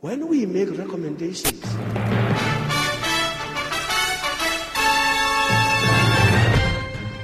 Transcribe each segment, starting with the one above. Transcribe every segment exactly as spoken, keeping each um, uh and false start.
When we make recommendations,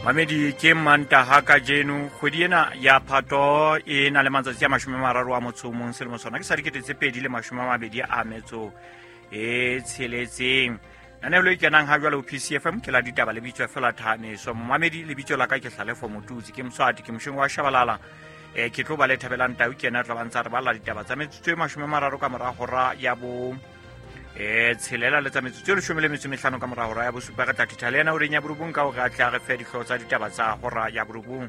Mamedi ke Mantaha kajeno kgwedi ena ya Phato e na le matsatsi a mashome a mararo a motso o mong selemo sona ke sa dikete tse pedi le mashome a mabedi a metso e tsheletseng. Lenaneo le kenang ha jwale ho P C F M ke la ditaba le bitswa fela Thameso. Mamedi lebitso la ka ke Hlalefo Motutsi, ke Moswati, ke moshong wa Shabalala. E ke tlo ba le Thabelang Tau ke yena a tla ba ntsa re balla ditaba tsa metsotso e mashome a mararo ka mora hora ya bo e tshelela le tsa metsotso e leshome le metso e mehlano ka mora hora ya bosupa. Re tla thitha le yena horeng ya borobong ka hore a tle a re fe dihlooho tsa ditaba tsa hora ya borobong.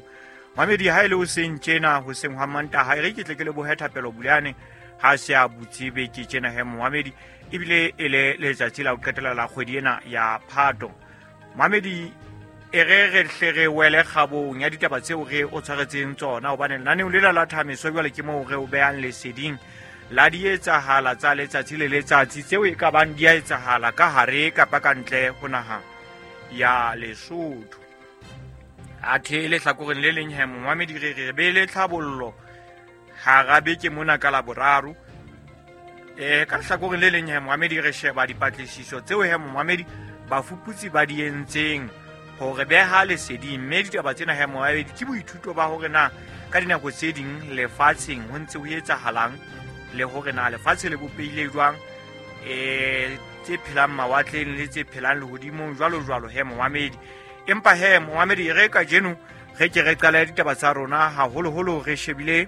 Mamedi ha e le hoseng tjena, hoseng hwa Mantaha, e re ke tle ke lebohe Thapelo Bulane ha se a butse beke tjena he Mohamedi, ebile e le letsatsi la ho qetela la kgwedi ena ya Phato. Mohamedi e re re hle re wele kgabong ya ditaba tseo re o tshwaretseng tsona, hobane lenaneong lela la Thameso jwale ke moo re o behang leseding la di etsahala tsa letsatsi le letsatsi tseo e ka bang di a etsahala ka hare kapa ka ntle ho naha ya Lesotho. Athe lehlakoreng le leng he Mohamedi re re be le tlhabollo hara beke mona ka Laboraro. Eh ka lehlakoreng le leng he Mohamedi re sheba dipatlisiso tseo he Mohamedi bafuputsi ba di entseng hore beha leseding, mme ditaba tsena he Mohamedi ke boithuto ba hore na ka dinako tse ding lefatsheng ho ntse ho etsahalang le hore na lefatshe le bopehile jwang, eh tse phelang mawatleng le tse phelang lehodimong jwalo jwalo he Mohamedi. Empa he Mohamedi re kajeno re ke re qala ditaba tsa rona haholoholo re shebile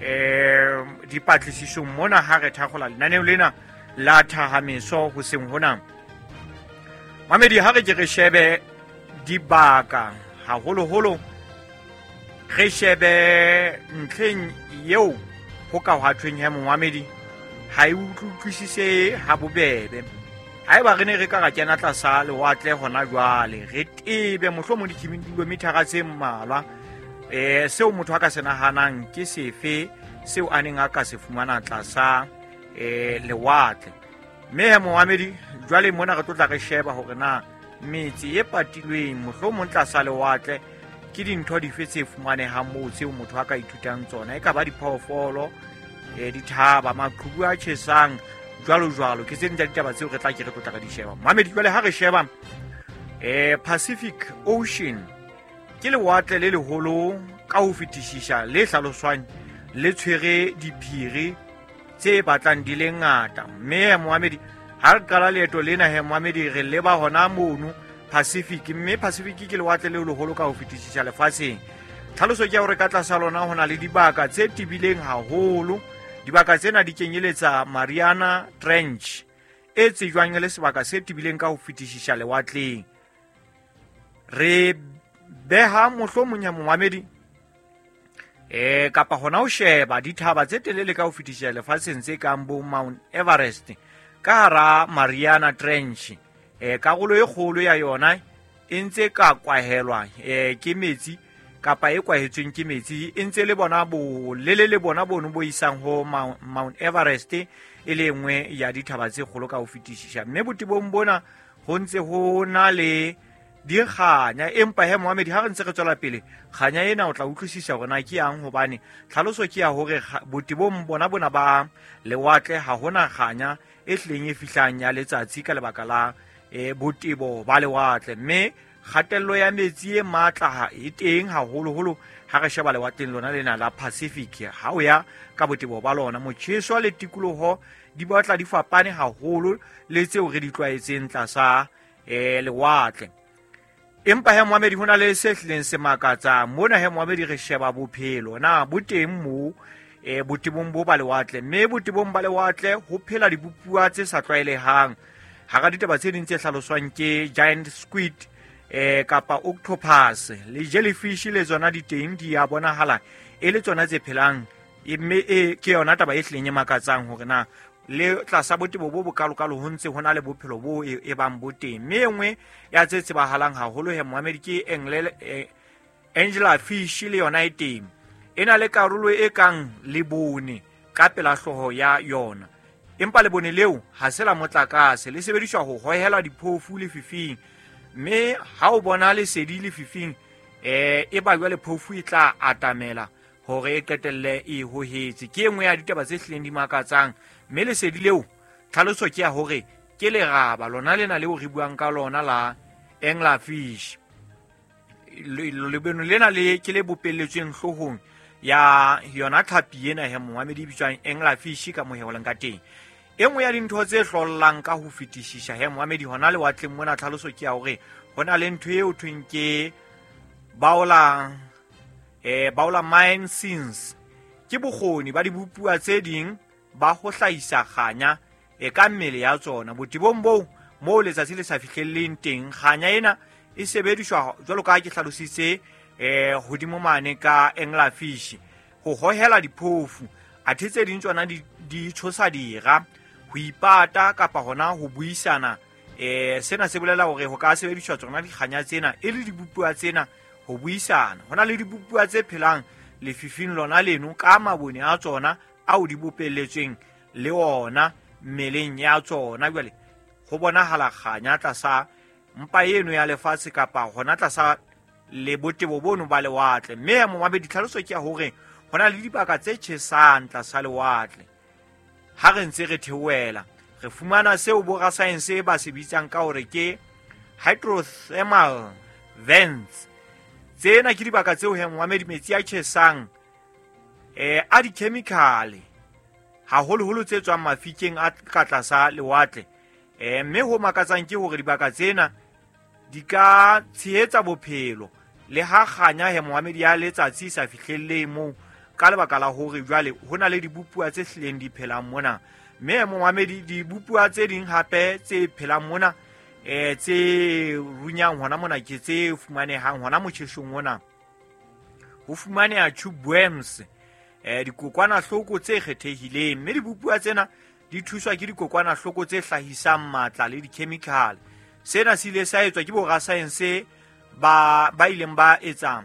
eh dipatlisisong mona ha re thakgola lenaneo lena la Thahameso hoseng hona. Mohamedi ha re ke re shebe dibaka haholoholo re shebe ntlheng eo ho ka hwa thweng he Mohamedi ha e utlwisise ha bobebe. Haeba re ne re ka ra kena tlasa lewatle hona jwale re tebe mohlomong dikilomithara tse mmalwa, eh seo motho a ka se nahanang ke sefe seo a neng a ka se fumana tlasa eh lewatle. Mme he Mohamedi jwale mona re tlo tla re sheba hore na metse e patilweng mohlomong tlasa lewatle ke dintho dife tse fumanehang moo tseo motho a ka ithutang tsona, e ka ba diphoofolo, eh dithaba, maqhubu a tjhesang jwalo jwalo. Ke tse ding tsa ditaba tseo re tla ke re tlo tla re di sheba. Mohamedi jwale ha re sheba eh Pacific Ocean ke lewatle le leholo ka ho fetisisa le hlaloswang le tshwere diphiri tse batlang di le ngata. Mme Mohamedi ha re qala leeto lena he Mohamedi re leba hona mono Pacific, mme Pacific ke lewatle le leholo ka ho fetisisa lefatsheng. Tlhaloso ke ya hore ka tlasa lona ho na le dibaka tse tebileng haholo. Dibaka tsena di kenyeletsa Mariana Trench e tsejwang e le sebaka se tebileng ka ho fetisisa lewatleng. Re beha mohlomong ya Mohamedi eh kapa hona ho sheba dithaba tse telele ka ho fetisisa lefatsheng tse kang bo Mount Everest ka hara Mariana Trench. Eh karolo e kgolo ya yona e ntse ka kwahelwa eh ke metsi kapa e kwahetsweng ke metsi, e ntse le bona bo lele le bona bono bo isang ho Mount Everest e le nngwe ya dithaba tse kgolo ka ho fetisisa. Mme botebong bona ho ntse ho na le dikganya, empa he Mohamedi ha re ntse re tswela pele kganya ena o tla utlwisisa hore na ke yang, hobane tlhaloso ke ya hore botebong bona bona ba lewatle ha hona kganya e hlileng e fihlang ya letsatsi ka lebaka la eh botebo ba lewatle. Mme kgatello ya metsi e matla e teng haholoholo ha re sheba lewatleng lona lena la Pacific. Ha o ya ka botebo ba lona, motjheso le tikoloho di batla di fapane haholo le tseo re di tlwaetseng tlasa eh lewatle. Empa he Mohamedi ho na le se hlileng se makatsang mona he Mohamedi re sheba bophelo na bo teng moo eh botebong bo ba lewatle, mme botebong ba lewatle ho phela dibopuwa tse sa tlwaelehang. Hara ditaba tse ding tse hlaloswang ke giant squid eh kapa octopus le jellyfish le tsona di teng di a bonahala e le tsona tse phelang, mme e ke yona taba e hlileng e makatsang hore na le tlasa botebo bo bokalokalo ho ntse ho na le bophelo bo e bang bo teng. Mme e nngwe ya tse tsebahalang haholo he Mohamedi ke Angela fish le yona e teng, e na le karolo e kang lebone ka pela hlooho ya yona, empa lebone leo ha se la motlakase, le sebediswa ho hohela diphofu lefifing. Mme ha o bona lesedi lefifing eh e ba jwale phofu e tla atamela hore e qetelle e hohetse. Ke e nngwe ya ditaba tse hlileng di makatsang, mme lesedi leo tlhaloso ke ya hore ke leraba lona lena leo re buang ka lona la anglerfish. Lebeno lena le ke le bopelletsweng hloohong ya yona tlhapi ena he momamedi e bitswang anglerfish ka moheolang ka teng. E nngwe ya dintho tse hlollang ka ho fetisisa he momamedi hona lewatleng mona, tlhaloso ke ya hore ho na le ntho eo thweng ke baola eh baola mine scenes. Ke bokgoni ba dibopuwa tse ding ba ho hlahisa kganya e ka mmele ya tsona botebong boo moo letsatsi le sa fihlelleng teng. Kganya ena e sebediswa jwalo ka ha ke hlalositse eh hodimo mane ka anglerfish ho hohela diphofu, athe tse ding tsona di di tshosa dira, ho ipata kapa hona ho buisana. Eh sena se bolela hore ho ka sebediswa tsona dikganya tsena e le dibopuwa tsena ho buisana. Hona le dibopuwa tse phelang lefifing lona leno ka mabone a tsona ao di bopelletsweng le ona mmeleng ya tsona. Jwale ho bonahala kganya tlasa mpa eno ya lefatshe kapa hona tlasa le botebo bono ba lewatle. Mme momamedi tlhaloso ke ya hore hona le dibaka tse tjhesang tlasa lewatle. Ha re ntse re theohela re fumana seo borasaense ba se bitsang ka hore ke hydrothermal vents. Tsena ke dibaka tseo he momamedi metsi a tjhesang eh a di-chemical haholoholo tse tswang mafikeng a ka tlasa lewatle. Eh mme ho makatsang ke hore dibaka tsena di ka tshehetsa bophelo le ha kganya he momamedi ya letsatsi sa fihlelleng moo, ka lebaka la hore jwale ho na le dibopuwa tse hlileng di phelang mona. Mme momamedi dibopuwa tse ding hape tse phelang mona eh tse runyang hona mona ke tse fumanehang hona motjhesong ona. Ho fumaneha tube worms, eh dikokwanahloko tse kgethehileng, mme dibopuwa tsena di thuswa ke dikokwanahloko tse hlahisang matla le di-chemical. Sena se ile sa etswa ke borasaense ba ba ileng ba etsa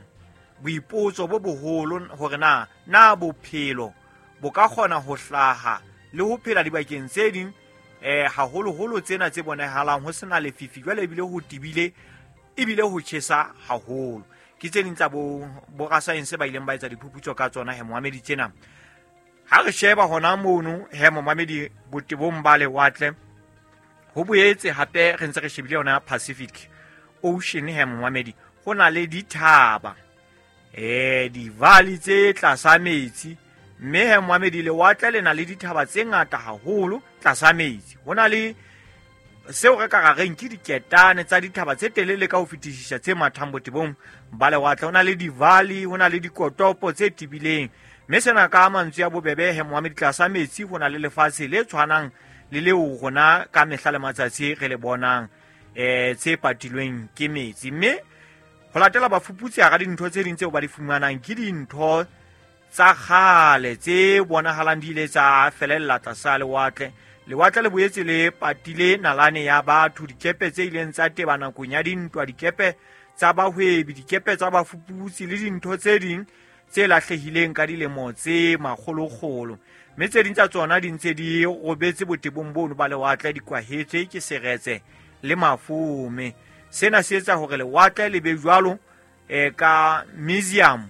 boipotso bo boholo hore na na bophelo bo ka kgona ho hlaha le ho phela dibakeng tse ding eh haholoholo tsena tse bonahalang ho sena lefifi jwale ebile ho tebile ebile ho tjhesa haholo. Ke tse ding tsa bo borasaense ba ileng ba etsa diphuputso ka tsona he momamedi tsena. Ha re sheba hona mono he momamedi botebong ba lewatle, ho boetse hape re ntse re shebile yona Pacific Ocean he momamedi, ho na le dithaba eh di-valley tse tlasa metsi. Mme he momamedi lewatle le na le dithaba tse ngata haholo tlasa metsi. Ho na le seo re ka ra reng ke diketane tsa dithaba tse telele ka ho fetisisa tse mathang botebong ba lewatle. Ho na le di-valley, ho na le dikotopo tse tebileng. Mme sena ka mantswe a bobebe he momamedi tlasa metsi ho na le lefatshe le tshwanang le leo rona ka mehla le matsatsi re le bonang eh tse patilweng ke metsi. Mme ho latela bafuputsi hara dintho tse ding tseo ba di fumanang ke dintho tsa kgale tse bonahalang di ile tsa felella tlasa lewatle. Lewatle le boetse le patile nalane ya batho, dikepe tse ileng tsa teba nakong ya dintwa, dikepe tsa bahwebi, dikepe tsa bafuputsi le dintho tse ding tse lahlehileng ka dilemo tse makgolokgolo. Mme tse ding tsa tsona di ntse di robetse botebong bono ba lewatle, di kwahetswe ke seretse le mafome. Sena se etsa hore lewatle le be jwalo eh ka museum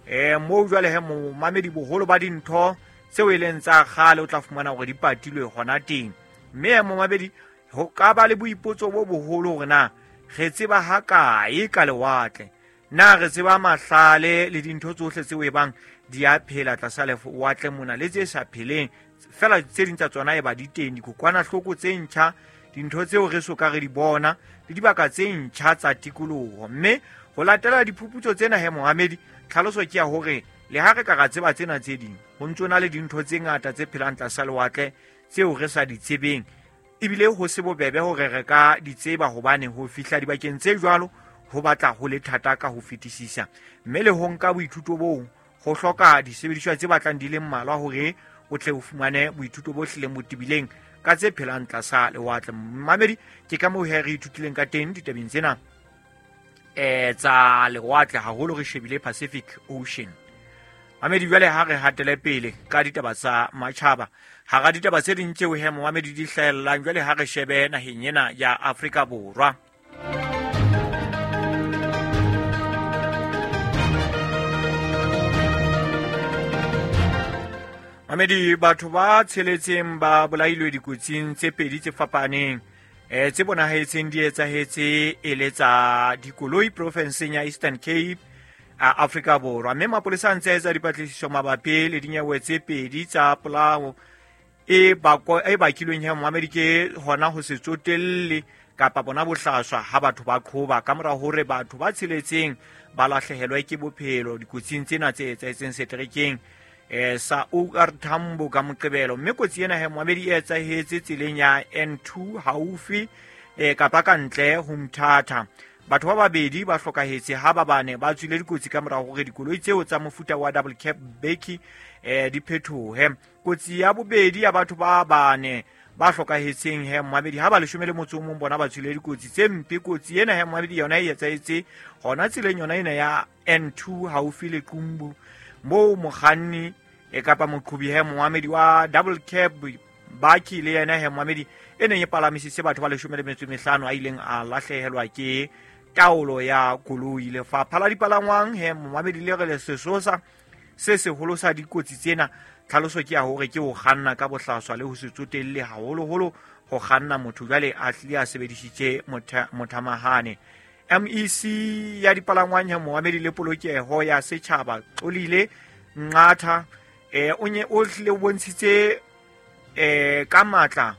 eh moo jwale he momamedi boholo ba dintho tseo e leng tsa kgale o tla fumana hore di patilwe hona teng. Mme momamedi ho ka ba le boipotso bo boholo hore na re tseba hakae ka lewatle, na re tseba mahlale le dintho tsohle tseo e bang di a phela tlasa lewatle mona le tse sa pheleng fela tse ding tsa tsona e ba di teng, dikokwanahloko tse ntjha, dintho tseo re so ka re di bona le dibaka tse ntjha tsa tikoloho. Mme ho latela diphuputso tsena he momamedi, tlhaloso ke ya hore le ha re ka ra tseba tsena tse ding, ho ntso na le dintho tse ngata tse phelang tlasa lewatle tseo re sa di tsebeng, ebile ho se bobebe hore re ka di tseba hobane ho fihla dibakeng tse jwalo ho batla ho le thata ka ho fetisisa. Mme le ho nka boithuto boo ho hloka disebediswa tse batlang di le mmalwa hore o tle o fumane boithuto bo hlileng bo tebileng ka tse phelang tlasa lewatle. Mamedi, ke ka moo he re ithutileng ka teng ditabeng tsena eh tsa lewatle, haholo re shebile Pacific Ocean. Mamedi, jwale ha re hatele pele ka ditaba tsa matjhaba. Hara ditaba tse ding tseo he momamedi di hlahellang, jwale ha re shebe naheng ena ya Afrika Borwa. Mamedi, batho ba tsheletseng ba bolailwe dikotsing tse pedi tse fapaneng eh tse bonahetseng di etsahetse e le tsa dikoloi profenseng ya Eastern Cape a Afrika Borwa. Mme mapolesa a ntse a etsa dipatlisiso mabapi le dinyewe tse pedi tsa polao e bakwa e bakilweng he Moamedi ke hona ho se tsotelle kapa bona bohlaswa ha batho ba qhoba ka mora hore batho ba tsheletseng ba lahlehelwe ke bophelo dikotsing tsena tse etsahetseng seterekeng eh sa O R Tambo ka Moqebelo. Mme kotsi ena he Moamedi e etsahetse tseleng ya N two haufi eh kapa ka ntle ho Mthatha. Batho ba babedi ba hlokahetse ha ba bane ba tswile dikotsi ka mora hore dikoloi tseo tsa mofuta wa double cab bakkie eh di phethohe. Kotsi ya bobedi ya batho ba bane ba hlokahetseng he Moamedi ha ba leshome le motso o mong bona ba tswile dikotsi tse mpe. Kotsi ena he Moamedi yona e etsahetse hona tseleng yona ena ya N two haufi le Qumbu, moo mokganni e kapa moqhobi he Moamedi wa double cab bakkie le yena he Moamedi e neng e palamisitse batho ba leshome le metso e mehlano a ileng a lahlehelwa ke taolo ya koloi. Lefapha la dipalangwang he Moamedi le re le sesosa se seholo sa dikotsi tsena, tlhaloso ke ya hore ke ho kganna ka bohlaswa le ho se tsotelle haholoholo ho kganna motho jwale a hlile a sebedisitse mothamahane. M E C ya dipalangwang he Moamedi le polokeho ya setjhaba Xolile Nqatha eh o nye o hlile o bontshitse eh ka matla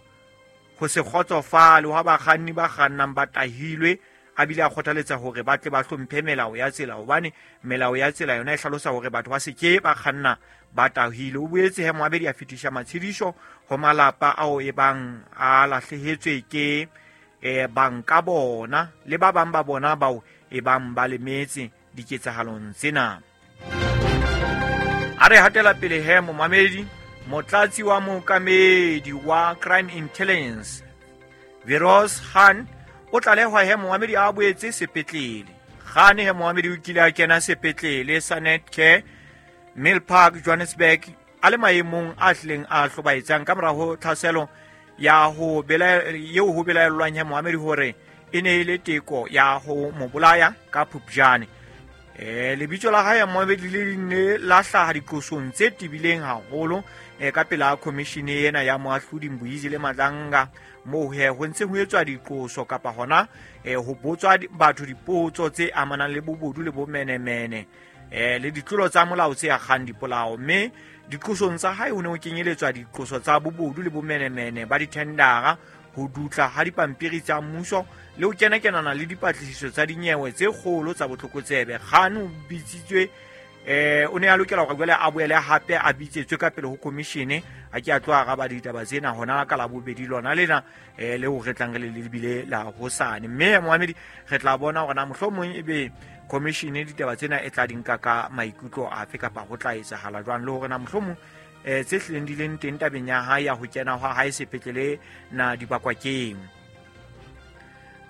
ho se kgotsofale ha bakganni ba kgannang ba tahilwe, a bile a kgothaletsa hore ba tle ba hlomphe melao ya tsela, hobane melao ya tsela yona e hlalosa hore batho ba se ke ba kganna ba tahilwe. O boetse he Moamedi a fetisha matshediso ho malapa ao e bang a lahlehetswe ke eh banka bona le ba bang ba bona bao e bang ba lemetse diketsahalong tsena. A re hatela pele he Moamedi, motlatsi wa mookamedi wa Crime Intelligence Veros Khan o tlalehwa he Moamedi a boetse sepetlele. Khan he Moamedi o kile a kena sepetlele sa Netcare Mill Park Johannesburg a le maemong a hlileng a hlobaetsang ka mora ho tlhaselo ya ho bela eo ho belaellwang he Moamedi hore e ne e le teko ya ho mo bolaya ka Phupjane. Eh lebitso la hae Moamedi le ne la hlaha diqosong tse tebileng haholo eh ka pela commission ena ya moahlodi Mbuyisile Madlanga, moo he ho ntse ho etswa diqoso kapa hona eh ho botswa batho dipotso tse amanang le bobodu le bomenemene eh le ditlolo tsa molao tse akgang dipolao. Mme diqosong tsa hae ho ne ho kenyeletswa diqoso tsa bobodu le bomenemene ba dithendara, ho dutla ha dipampiri tsa mmuso le ho kenakenana le dipatlisiso tsa dinyewe tse kgolo tsa botlokotsebe. Khan o bitsitswe eh o ne a lokela hore jwale a boele hape a bitsetswe ka pele ho commission a ke a tlo araba ditaba tsena hona ka la bobedi lona lena eh le ho re tlang re le lebile la hosane. Mme Moamedi re tla bona hore na mohlomong ebe commission ditaba tsena e tla di nka ka maikutlo afe kapa ho tla etsahala jwang, le hore na mohlomong eh tse hlileng di leng teng tabeng ya hae ya ho kena ha hae sepetlele na di bakwa keng.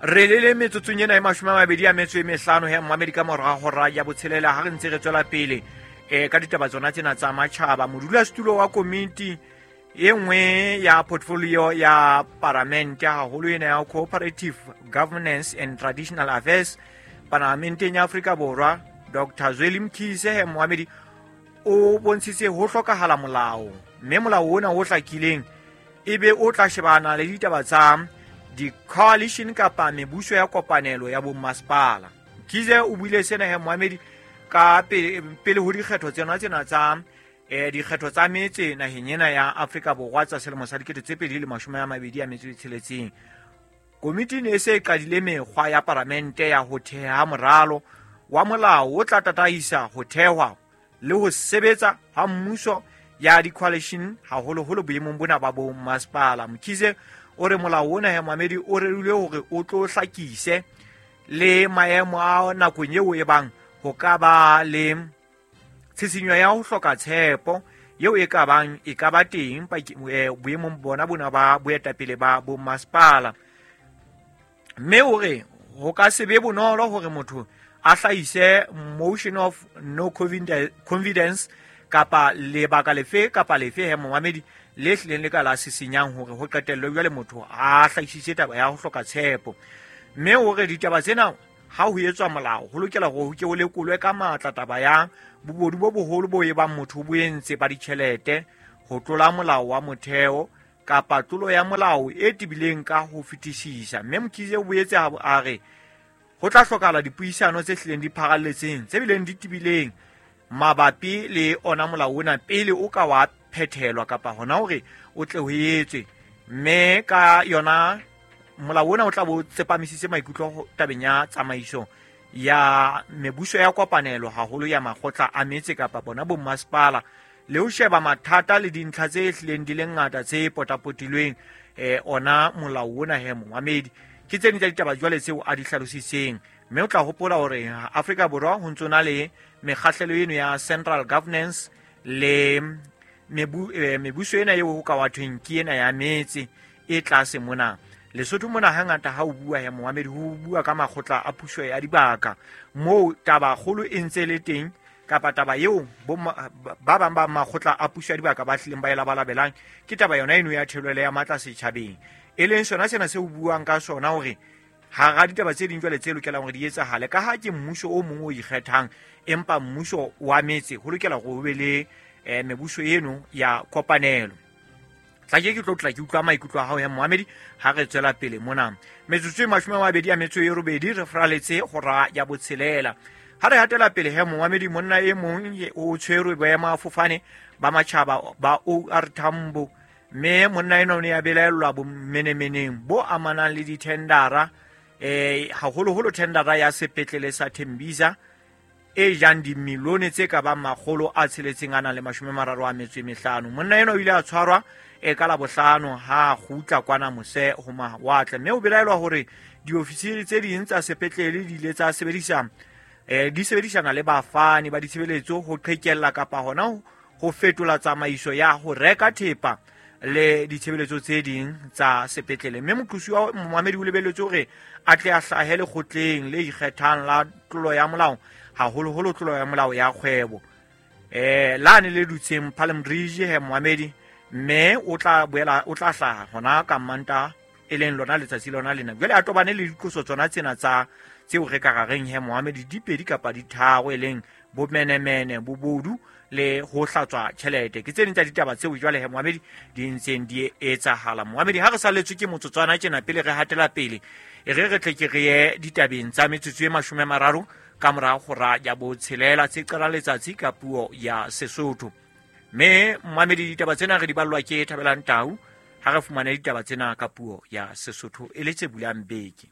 Re le le metsotsong ena e mashome a mabedi a metso e mehlano he Moamedi ka mora hora ya botshelela ha re ntse re tswela pele eh ka ditaba tsona tsena tsa matjhaba. Modulasetulo wa komiti e nngwe ya portfolio ya paramente haholo ena ya Cooperative Governance and Traditional Affairs Parlamenteng ya Afrika Borwa, Doctor Zweli Mkhize he Moamedi o bontshitse ho hlokahala molao, mme molao ona o hlakileng ebe o tla shebana le ditaba tsa di-coalition kapa mebuso ya kopanelo ya bommasepala. Mkhize o buile sena he Moamedi ka pele, pele ho dikgetho tsena tsena tsa eh dikgetho tsa metse naheng ena ya Afrika Borwa tsa selemo sa dikete tse pedi le mashome a mabedi a metso e tsheletseng. Komiti ne e se e qadile mekgwa ya paramente ya ho theha moralo wa molao o tla tataisa ho thehwa le ho sebetsa ha mmuso ya di-coalition haholoholo boemong bona ba bommasepala. Mkhize o re molao ona he Moamedi o rerilwe hore o tlo hlakise le maemo a nakong eo e bang ho ka ba le tshisinyo ya ho hloka tshepo eo e ka bang e ka ba teng boemong bona bona ba boetapele ba bommasepala. Mme o re ho ka se be bonolo hore motho a hlahise motion of no confidence kapa lebaka lefe kapa lefe he Moamedi le hlileng le ka la sisinyang hore ho qetellwe jwale motho a hlahisitse taba ya ho hloka tshepo. Mme o re ditaba tsena ha ho etswa molao ho lokela hore ho ke ho lekolwe ka matla taba ya bobodu bo boholo bo ebang motho bo entse ba ditjhelete ho tlola molao wa motheo kapa tlolo ya molao e tebileng ka ho fetisisa. Mme Mkhize o boetse a re ho tla hlokahala dipuisano tse hlileng di pharalletseng tse bileng di tebileng mabapi le ona molao ona pele o ka wa phethelwa kapa hona hore o tle ho etswe. Mme ka yona molao ona o tla bo tsepamisitse maikutlo tabeng ya tsamaiso ya mebuso ya kopanelo haholo ya makgotla a metse kapa bona bommasepala, le ho sheba mathata le dintlha tse hlileng di le ngata tse potapotilweng eh ona molao ona he momamedi. Ke tse ding tsa ditaba jwale tseo a di hlalositseng. Mme o tla hopola hore Afrika Borwa ho ntso na le mekgahlelo eno ya central governance le mebu, eh, mebuso ena eo ho ka wa thweng ke ena ya metse e tlase mona. Lesotho mona hangata ha o bua ya momamedi ho bua ka makgotla a puso ya dibaka moo taba kgolo e ntse le teng kapa taba eo ba bang ba makgotla a puso ya dibaka ba hlileng ba e labalabelang ke taba yona eno ya thelwele ya matla setjhabeng, e leng sona sena se o buang ka sona hore hara ditaba tse ding jwale tse lokelang hore di etsahale ka ha ke mmuso o mong o ikgethang, empa mmuso wa metse ho lokela hore ho be le eh, mebuso eno ya kopanelo. Tla ke ke tlo tla ke utlwa maikutlo a hao ya momamedi ha re tswela pele mona. Metsotso e mashome a mabedi a metso e robedi re fraletse hora ya botshelela. Ha re hatela pele he momamedi, monna e mong o tshwerwe boemafofane ba matjhaba ba O R Tambo, mme monna ena o ne a belaellwa bomenemeneng bo amanang le dithendara, eh haholoholo thendara ya sepetlele sa Tembisa e jang dimilione tse ka bang makgolo a tsheletseng a nang le mashome a mararo a metso e mehlano. Monna ena o ile a tshwarwa e ka Labohlano ha kgutla kwana mose ho mawatle, mme o belaelwa hore diofisiri tse ding tsa sepetlele di ile tsa sebedisa eh di sebedisana le bafani ba ditshebeletso ho qhekella kapa hona ho fetola tsamaiso ya ho reka thepa le ditshebeletso tse ding tsa sepetlele. Mme moqosi wa momamedi o lebelletswe hore a tle a hlahe lekgotleng le ikgethang la tlolo ya molao, haholoholo tlolo ya molao ya kgwebo eh lane le dutseng Palm Ridge he momamedi, mme o tla boela o tla hlaha hona ka Manta e leng lona letsatsi lona lena. Jwale a tobane le diqoso tsona tsena tsa tseo re ka rareng he momamedi di pedi kapa di tharo, e leng bomenemene, bobodu le ho hlatswa tjhelete. Ke tse ding tsa ditaba tseo jwale he momamedi di ntseng di etsahala. Momamedi, ha re salletswe ke motsotswana tjena pele re hatela pele, e re re tle ke re ye ditabeng tsa metsotso e mashome a mararo ka mora hora ya botshelela tse qalang letsatsi ka puo ya Sesotho. Mme momamedi, ditaba tsena re di ballwa ke Thabelang Tau ha re fumane ditaba tsena ka puo ya Sesotho e le tse bulang beke.